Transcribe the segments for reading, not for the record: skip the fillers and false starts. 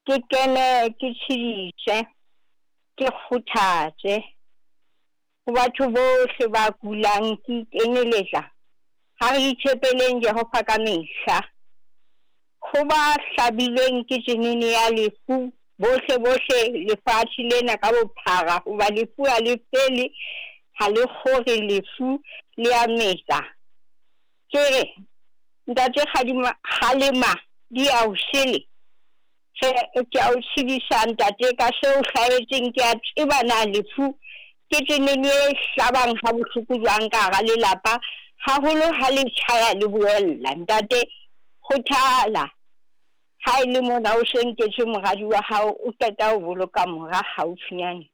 Ke kene ke tshedise, ke kgothatse. Ho batho bohle ba kulang ke ikeneletsa. Ha re itshepeleng Jehova ka mehla. Ho ba hlabilweng ke tsenene ya lefu bohle bohle lefatshe lena ka bophara hoba lefu ha le fele, ha le kgore lefu le a metsa. Ke re, Ntate Kgadima, kgalema di a o sele. Tjhe, ke a o tshedisa ntate ka se o hlahetseng ke a tseba na lefu ke tsenene e hlabang ha bohloko jwang ka hara lelapa haholo ha le tjhaya le boella. Ntate kgothala ha e le mona o se nketswe moradi wa hao o qeta ho boloka mora haufinyane.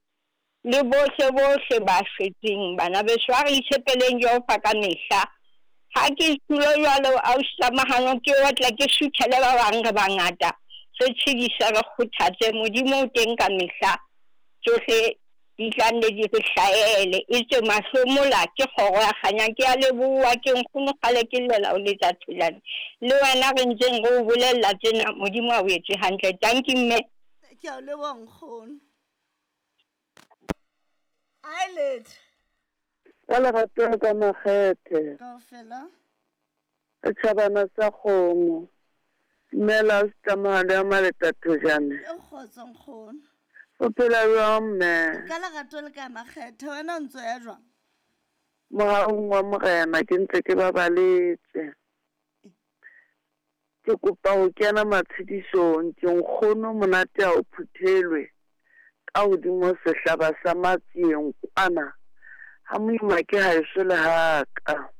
Le bohle, bohle ba shwetseng, bana beso, a re itshepeleng Jehova ka mehla. Ha ke tulo jwalo, ausi Tlamahano, ke otla ke suthele ba bang, re bangata, re tshedise, re kgothatse. Modimo o teng ka mehla, tsohle di tla nne di re hlahele. Etswe mahlomola ke kgoro ya kganya. Ke a leboha, ke nkgono kgale ke llela ho letsa Tholane. Le wena re ntseng re o bolella tsena, Modimo a o etse hantle. Tanki mme. Ke a o leboha nkgono. Eyelid. Ka lerato le ka makgethe. Kaofela. Setšhabana sa kgomo. Dumela Tlamahalo ya Maleta Thojane. E kgotso nkgono. O phela jwang mme? Ka lerato le ka makgethe wena o ntso ya jwang? Mohaung wa Morena ke ntse ke babaletse. Ke kopa ho kena matshedisong ke nkgono monate ha o phuthelwe ka hodimo sehlaba sa matsieng kwana ha moima ke haeso le haka.